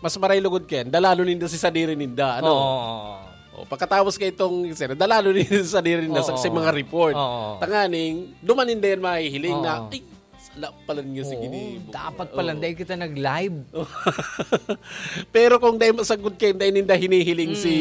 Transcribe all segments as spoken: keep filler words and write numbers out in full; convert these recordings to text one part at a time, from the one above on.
mas maray lugod kayan, dalalo ninda si sadiri ninda, ano? Oo. O, pagkatapos kay itong, sir, dalalo ninda si sadiri ninda sa, Oo. sa mga report. Oo. Tanganing, duman ninda yan mahihiling na, Oo. "Ay, sala pala niya si Oo, ginibo." dapat pala, Oo. dahil kita nag-live. Pero kung dahil masagod kayo, dahil ninda hinihiling si,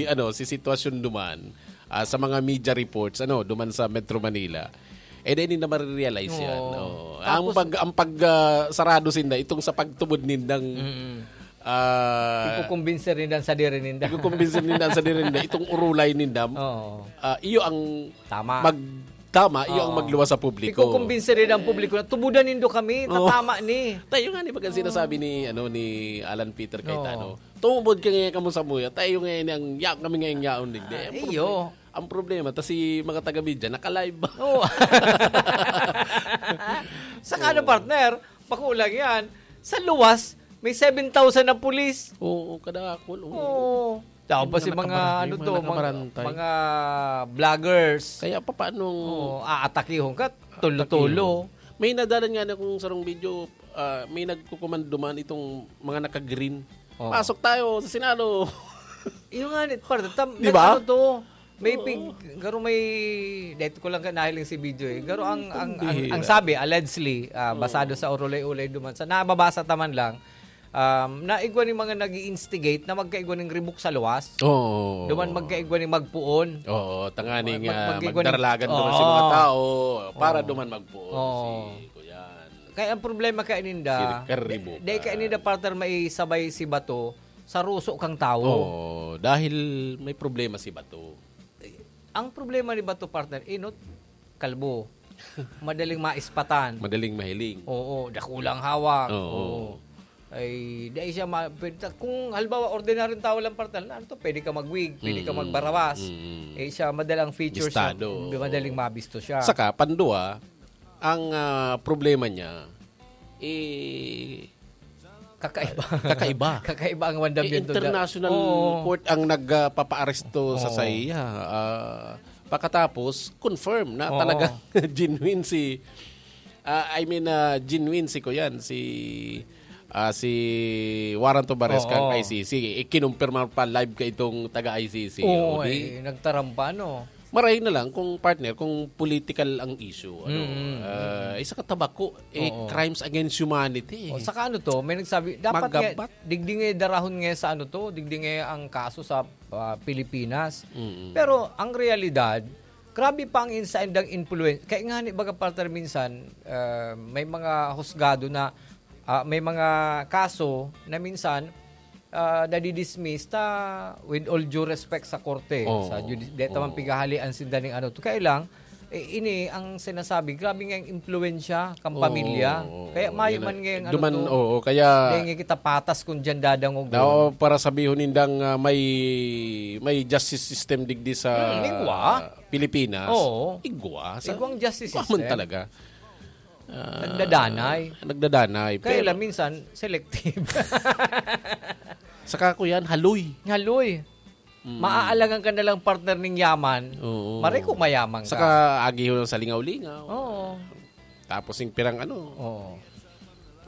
Mm. ano, si sitwasyon duman, ah, sa mga media reports, ano, duman sa Metro Manila, eh, dahil ninda marirealize yan. Oo. Oo. Ang Tapos pag, ang pag, ah, sarado sinda, itong sa pagtubod nindang, Mm. ah, Ikukumbinse rin ang sadiri ninda. ikukumbinse ninda ang sadiri ninda, itong urulay ninda, Oo. ah, iyo ang Tama. mag-, tama, iyo ang Oo. magluwas sa publiko. Ikukumbinse rin ang publiko na, "Tubudan nindo kami, Oo. tatama ni." Tayo nga ni baga sinasabi Oo. ni, ano, ni Alan Peter Cayetano, Oo. "Tumubod ka ngayon kamo sa muya, tayo ngayon ang ya-, kami ngayon yaon digdi." Ah, Ang iyo. proble-, ang problema, ta si mga taga-media, naka-live ba? Oo. Saka ano, Oo. partner, pakulang yan. Sa luwas, may seven thousand na pulis. Oo, kadakol, oo. Oo. Tapos Yung si mga mga, nakabara-, ano yung to, mga mga, nakabarantay. mga vloggers. Kaya pa, paano Oo, aatakihon ka, tulo-tulo. Atakihon? May nadalan nga na kung sarong video, ah, may nagkukumanduman itong mga naka-green. Oo. "Pasok tayo sa Senado." Yung nga, ni-, par-, tam-, Di ba? nag-ano to, may Oo. pig-, garo may, dahil ko lang ka nahiling si video eh. Garo ang, ang, ang, Pambihira. ang sabi, allegedly, ah, Oo. basado sa urulay-ulay duman, sa nababasa ta man lang, um, naigwa ni mga nag-i-instigate na magkaigwa ning ribok sa luwas. Oo. Duman magkaigwa ni magpuon. Oo, tanganing, Mag-, ah, magkaigwa ni magdaralagan duman si mga Oo. tao para Oo. duman magpuon Oo. si Kuyan. Kaya ang problema kaya ninda, Si Ricardo di, di kaya Bukan. ninda, partner, maisabay si Bato sa ruso kang tawo. Oo, dahil may problema si Bato. Ang problema ni Bato, partner, inot, kalbo. Madaling maispatan. Madaling mahiling. Oo, dakulang hawak. Oo. Oo. Ay, dahil siya ma-, pwede ta-, kung halimbawa, ordinaryong tao lang, partner, na ano to, pwede ka mag-wig, pwede ka Mm, magbarawas. mm. Eh, siya, madalang features niya, Listado, oo. madaling mabisto siya. Saka, pandua, ang, ah, problema niya, eh, Kakaiba. kakaiba. Kakaiba ang Eh, mandamiento da-, international Oo. court ang nagpapaaresto sa Oo. saiya. Ah, pagkatapos, confirm na Oo. talagang genuine si, ah, I mean, ah, genuine si Kuyan, si, ah, si Warrant of Arrest kang Oo. I C C. Eh, kinumpirma pa live ka itong taga I C C. Oo, O, di? eh, nagtarampa, no? Maray na lang kung, partner, kung political ang issue, ano, Mm, mm, ah, mm. isa ka tabako, eh, Oo. crimes against humanity. O, saka ano to, may nagsabi, dapat nga, Magabat. digdi nga darahon nga sa ano to, digdi nga ang kaso sa, ah, Pilipinas. Mm. Pero ang realidad, grabe pa ang insaindang influence. Kaya nga ni baga, partner, minsan, ah, may mga husgado na, ah, may mga kaso na minsan, ah, nadidismiss ta with all due respect sa korte, Oo. sa judi-, di ta man Oo. pighahalian sinda ning ano. Kaya lang, eh, ini ang sinasabi, grabe nga ang impluwensya kan Oo, pamilya. oo, Kaya oo. mayo Yan man na, nga yung ano duman, to, oo, kaya dahil nga kita patas kung diyan dadangog. Daw para sabihon nindang, ah, may, may justice system digdi sa Hmm, igwa. Pilipinas. Oo. Igwa. Sa, Igwang justice igwa man system. talaga. Ah, Nagdadanay. nagdadanay, Kaya pero lang minsan, selective. Saka ko yan, haloy. Haloy. Mm. Maaalagan ka na lang, partner, ning yaman. Oo. Maray kung mayaman ka. Saka agihon sa lingaw-lingaw. Oo. Tapos yung pirang ano. Oo.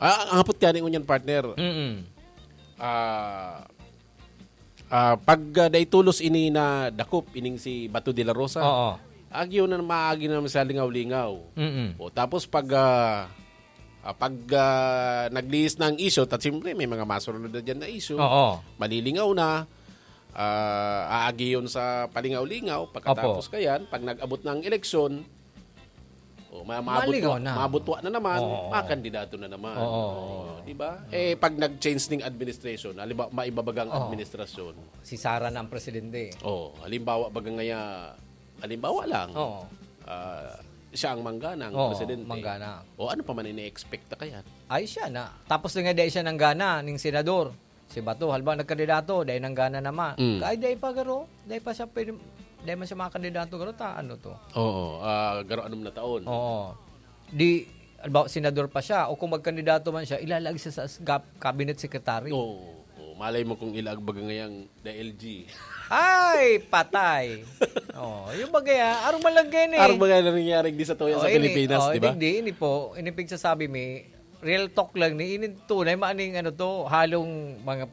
Ah, ang hapot ka ning unyan, partner. Mm-mm. Ah, ah, pag, ah, daitulos ini na dakop, ining si Bato de la Rosa. Oo. Agyo na maagi na sa lingaw-lingaw. Mm-mm. O, tapos pag, ah, ah, pag, ah, naglihis na ang isyu, at siyempre may mga masunod na dyan na isyu, Oo. malilingaw na, ah, aagi yun sa palingaw-lingaw, pagkatapos Opo. kayan, pag nag-abot na ang eleksyon, o, ma-, maabot Malingaw wa-, na. maabot wa na naman, Oo. makandidato na naman. Oo. O, di ba? Oo. Eh, pag nag-change ng administration, halimbawa, maibabagang Oo. administrasyon. Si Sara na ang presidente. O, halimbawa, baga ngaya, halimbawa lang, Oo. ah, siya ang manggana, ang Oo, presidente. manggana. O, ano pa man ini-expect na kaya? Ay, siya na. Tapos na nga, dahil siya nanggana, ning senador. Si Bato, halimbawa, nagkandidato, dahil nanggana naman. Mm. Kaya dahil pa, garo, dahil pa siya pwede, dahil man siya makakandidato, garo, ta, ano to? Oo, ah, garo, anong na taon? Oo. Di, halimbawa, senador pa siya, o kung magkandidato man siya, ilalagay siya sa gap-, cabinet secretary. Oo, oo. Malay mo kung ilaag baga ngayang the L G. Ay, patay! Oh, yung bagay, ah, arong malagay ni. Arong bagay na nangyari di sa tuya Oh, sa ini, Pilipinas, oh, di ba? Hindi, hindi po. Ini pigsasabi mi, real talk lang ni. Ini tunay, maaning ano to, halong mga